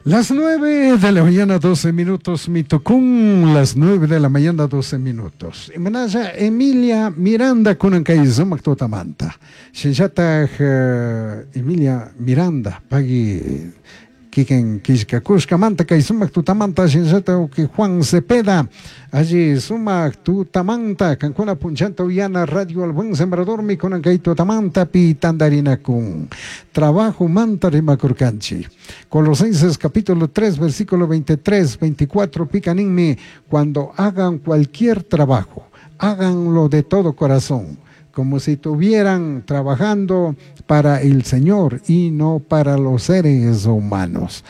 Las 9 de la mañana, 12 minutos, mitucún, las 9 de la mañana, 12 minutos. Imanalla Emilia Miranda kunan kay sumak tutamanta. Shinllataj Emilia Miranda, pagui kikin killkakushkamanta kay sumak tutamanta shinllata uki Juan Cepeda alli sumak tutamanta kankuna punchanta uyana Radio El Buen Sembradormi kunan kay tutamanta pi tandarinakun trabajo manta rimakurkanchik. Colosenses capítulo 3 versículo 23, 24 picaninmi cuando hagan cualquier trabajo, háganlo de todo corazón, como si estuvieran trabajando para el Señor y no para los seres humanos.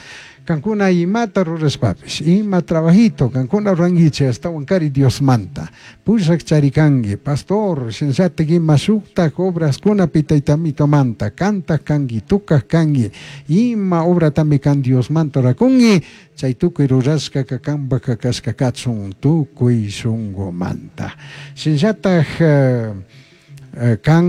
Kankuna imata rurashpapish, ima trabajito, kankuna ruranguichik ashtawankari Dios manta. Pushak charikangi, pastor, shinllatik ima shuktak obraskunapi taytamitomanta, kantak kangi, tukak kangi, ima obratami kan Dios manta rurakungi, chay tukuy rurashkaka kanpaka kashka kachun tukuy shunkumanta. Shinllatak kan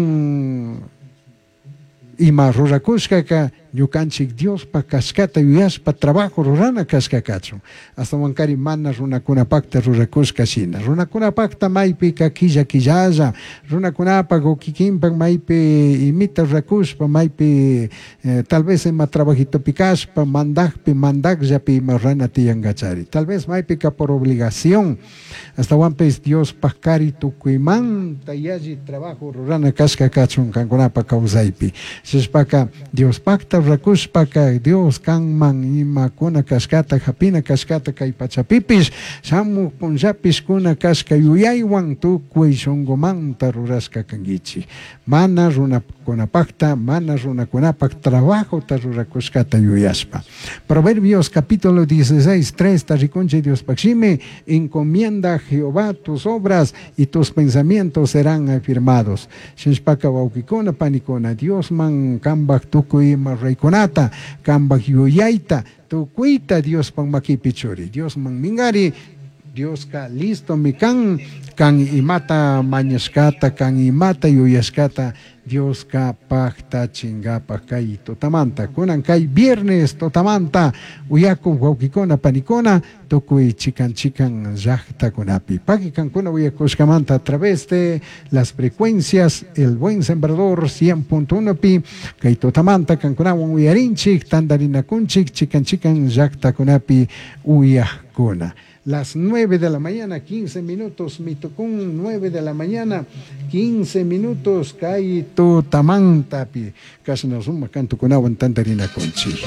ima rurakushkaka ñukanchik Diospa kashkata yuyashpa trabajo rurana kashka kachun. Ashtawankari mana runakunapakta rurakushka shina. Runakunapakta maypika killa killalla, runakunapak o kikinpak maypi imita rurakushpa, maypi tal vez ima trabajitopi kashpa, mandakpi, mandakllapi ima rurana tiyankachari. Tal vez maypika por obligación. Ashtawanpish Diospak kari tukuymanta yalli trabajo rurana kashka kachun kankunapak kawsaypi. Shishpaka Diospakta rurakushpaka Dios kanman imakuna kashkata hapina kashkata kay pachapipish shamuj punllapish kuna kashka yuyaywan tukuy shunkumanta rurashka kankichik. Mana runakunapakta, mana runakunapak trabajota rurakushkata yuyashpa. Proverbios capítulo 16, 3, rikunchik Diospaj shimi, encomienda a Jehová tus obras y tus pensamientos serán afirmados. Shinshpaka wawkikuna, panikuna, Diosman kambaj tukuy ima ruraykunata, kambaj yuyayta, tukuyta Diospak makipi churi. Diosman minkari, Dioska listo mi kan, kan imata mañashkata, kan imata yuyashkata, Dioska paktachinkapak kay tutamanta. Kunan kay viernes tutamanta, uyaku wawkikuna, panikuna, tukuy chikan chikan llaktakunapi. Paki kankuna uyakushkamanta a través de las frecuencias El Buen Sembrador 100.1 pi, kay tutamanta kankunawan uyarinchik, tandarinakunchik, chikan chikan llaktakunapi uyakuna. Las 9 de la mañana, 15 minutos, mitucún, 9 de la mañana, 15 minutos, kay tutamantapi. Kasna suma kantukunawan tandarinakunchik.